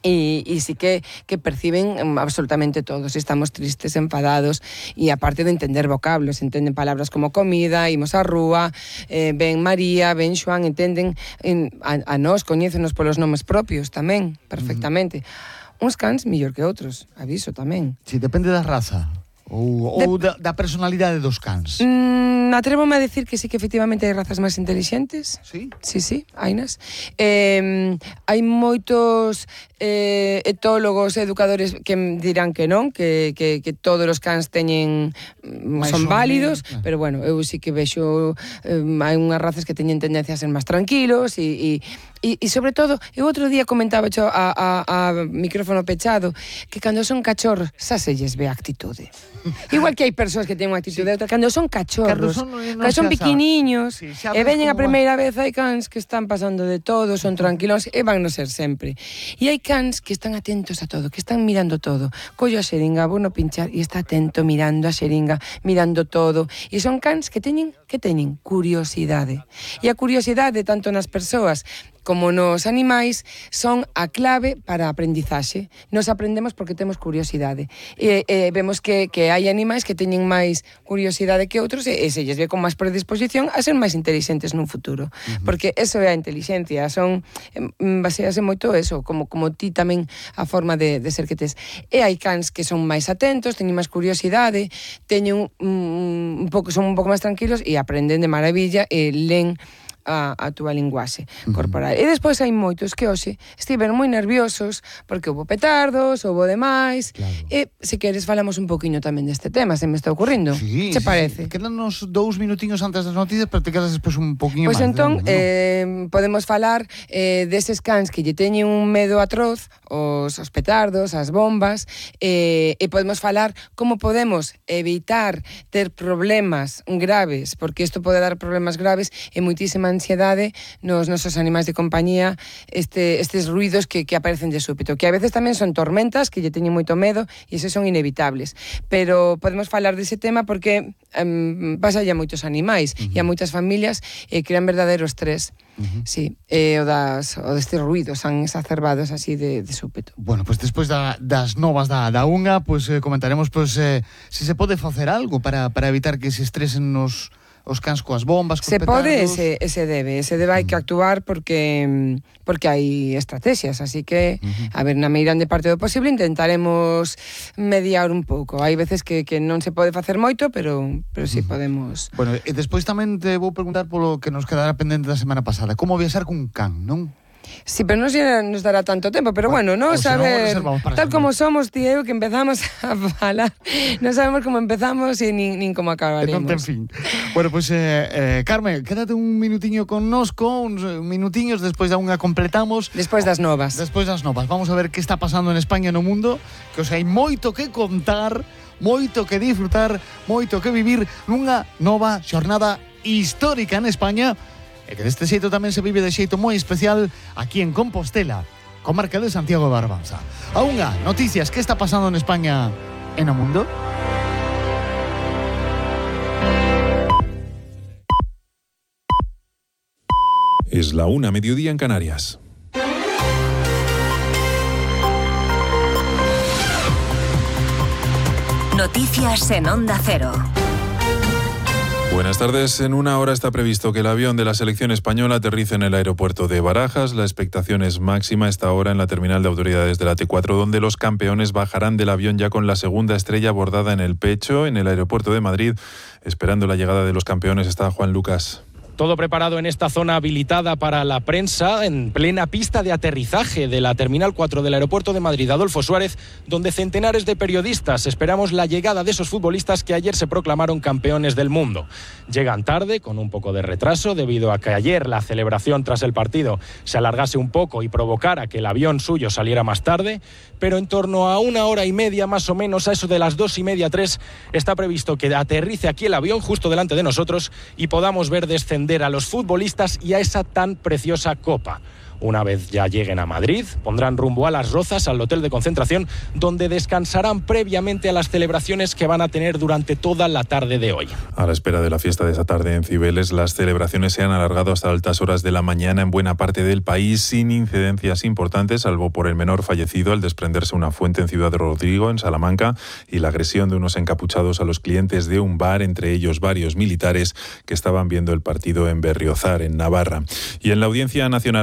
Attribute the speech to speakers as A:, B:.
A: E sí que perciben absolutamente todo. Se estamos tristes, enfadados, e aparte de entender vocablos, entenden palabras como comida, imos á rúa, ven María, ven Xoán, entenden a nós, coñécenos polos nomes propios tamén, perfectamente. Uns cans mellor que outros, aviso tamén.
B: Si, depende da raza ou da personalidade dos cans.
A: Atrévome a decir que sí que efectivamente hai razas máis intelixentes.
B: Sí?
A: Sí, hainas. Hai moitos etólogos, educadores que dirán que non, que todos os cans teñen son válidos, pero bueno, eu sí que vexo hai unhas razas que teñen tendencia a ser máis tranquilos e sobre todo, eu outro día comentaba a micrófono pechado que cando son cachorros xa se lles ve a actitude. Igual que hai persoas que teñen unha actitude outra, cando son cachorros, cando son pequeniños, e veñen a primeira vez, hai cans que están pasando de todo, son tranquilos, e van no ser sempre. E hai cans que están atentos a todo, que están mirando todo. Collo a xeringa, vou no pinchar, e está atento mirando a xeringa, mirando todo. E son cans que teñen curiosidade. E a curiosidade, tanto nas persoas como nos animais, son a clave para a aprendizaxe. Nos aprendemos porque temos curiosidade. Vemos que hai animais que teñen máis curiosidade que outros e se lles ve con máis predisposición a ser máis inteligentes nun futuro. Porque eso é a inteligencia, basease moito eso, como ti tamén a forma de ser que tes. E hai cans que son máis atentos, teñen máis curiosidade, son un pouco máis tranquilos e aprenden de maravilla e len a túa linguaxe corporal. E despois hai moitos que hoxe estiveron moi nerviosos porque houve petardos, houve demais, e se queres falamos un poquinho tamén deste tema, se me está ocurrindo.
B: Sí,
A: se parece?
B: Quédanos 2 minutiños antes das noticias, pero te quedas despois un poquinho máis.
A: Pois entón, podemos falar deses cans que lle teñen un medo atroz, os petardos, as bombas, e podemos falar como podemos evitar ter problemas graves, porque isto pode dar problemas graves e moitísima ansiedade nos nosos animais de compañía, estes ruidos que aparecen de súpeto, que a veces tamén son tormentas que lle teñen moito medo e eses son inevitables, pero podemos falar dese tema porque pasa a moitos animais e a moitas familias crean verdadeiro estrés. Sí, o destes ruidos tan exacerbados así de súpeto.
B: Bueno, pues despois das novas da unha, pues comentaremos se se pode facer algo para evitar que se estresen os cans coas bombas, cos petardos.
A: Se pode, se debe hai que actuar porque hai estrategias, así que a ver, na meirande parte do posible intentaremos mediar un pouco. Hai veces que non se pode facer moito, pero sí podemos.
B: Bueno, e despois tamén te vou preguntar polo que nos quedará pendente da semana pasada, como viaxar cun can, non?
A: Sí, pero non nos dará tanto tempo, pero bueno, non saber, tal como somos, ti e eu, que empezamos a falar, non sabemos como empezamos e nin como acabaremos.
B: En fin. Bueno, pues, Carmen, quédate un minutiño connosco, uns minutiños, despois da unha completamos.
A: Despois das novas.
B: Vamos a ver que está pasando en España e no mundo, que os hai moito que contar, moito que disfrutar, moito que vivir nunha nova xornada histórica en España, e que deste xeito tamén se vive de xeito moi especial aquí en Compostela, comarca de Santiago de Barbanza. A unha, noticias, que está pasando en España e no mundo?
C: Es la 1:00 mediodía en Canarias.
D: Noticias en Onda Cero.
C: Buenas tardes. En 1 hora está previsto que el avión de la selección española aterrice en el aeropuerto de Barajas. La expectación es máxima esta hora en la terminal de autoridades de la T4, donde los campeones bajarán del avión ya con la segunda estrella bordada en el pecho. En el aeropuerto de Madrid, esperando la llegada de los campeones, está Juan Lucas.
E: Todo preparado en esta zona habilitada para la prensa, en plena pista de aterrizaje de la Terminal 4 del Aeropuerto de Madrid, Adolfo Suárez, donde centenares de periodistas esperamos la llegada de esos futbolistas que ayer se proclamaron campeones del mundo. Llegan tarde, con un poco de retraso, debido a que ayer la celebración tras el partido se alargase un poco y provocara que el avión suyo saliera más tarde, pero en torno a 1 hora y media, más o menos, a eso de las 2:30, 3, está previsto que aterrice aquí el avión justo delante de nosotros y podamos ver descender a los futbolistas y a esa tan preciosa copa. Una vez ya lleguen a Madrid, pondrán rumbo a Las Rozas, al hotel de concentración, donde descansarán previamente a las celebraciones que van a tener durante toda la tarde de hoy.
C: A la espera de la fiesta de esta tarde en Cibeles, las celebraciones se han alargado hasta altas horas de la mañana en buena parte del país, sin incidencias importantes, salvo por el menor fallecido al desprenderse una fuente en Ciudad Rodrigo, en Salamanca, y la agresión de unos encapuchados a los clientes de un bar, entre ellos varios militares que estaban viendo el partido en Berriozar, en Navarra. Y en la Audiencia Nacional